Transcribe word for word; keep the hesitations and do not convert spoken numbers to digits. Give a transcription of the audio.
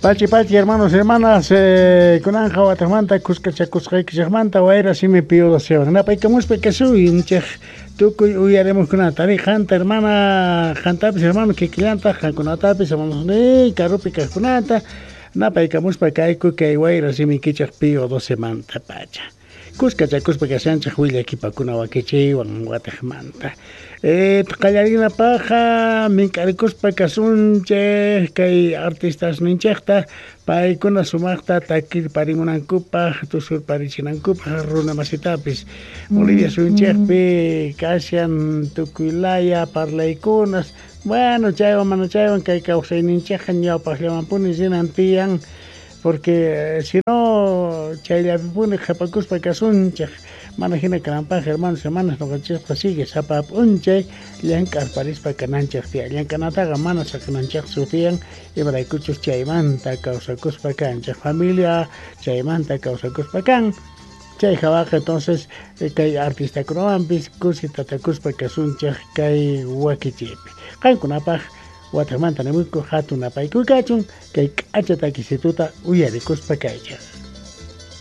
Pachi pachi hermanos hermanas, eh, kunanja watajmanta kuskachakusqaykichikmanta wayra simi Pío docewan napaykamuspa kasuyunchik tukuy uyarimujkunata ari qanta hermana qantapis hermano kikillantaq qankunatapis hermanos karupi kaqkunata napaykamuspa kayku kay wayra simikichik Pío docemanta pacha kuskachakuspa kashanchik willakipakuna wakichiywan watajmanta eh, qallarinapaqqa mink'arikuspa kasunchik kay artistasninchikta paykuna sumaqta takirparimunankupaq tusurparichinankupaq runa masitapis Bolivia suyunchikpi kashan tukuy laya parlaykunas bueno chaywan mana chaywan kay kawsayninchikqa ñawpaqllamanpuni rinan tiyan porque si no chayllapipuni qhapakuspa kasunchik mana hina kananpaq hermanos hermanas ñuqanchikqa sigue sapa p'unchay llank'arparispa kananchik tiyan llank'anataqa mana saqinanchikchu tiyan imaraykuchus chaymanta kawsakuspa kanchik familia chaymanta kawsakuspa kan chay hawaqa entonces kay artistakunawanpis kusi tatakuspa kasunchik kay wakichiypi qankunapaq watajmanta nimuyku hatun napaykuy kachun kay k'acha takisituta uyarikuspa kaychik.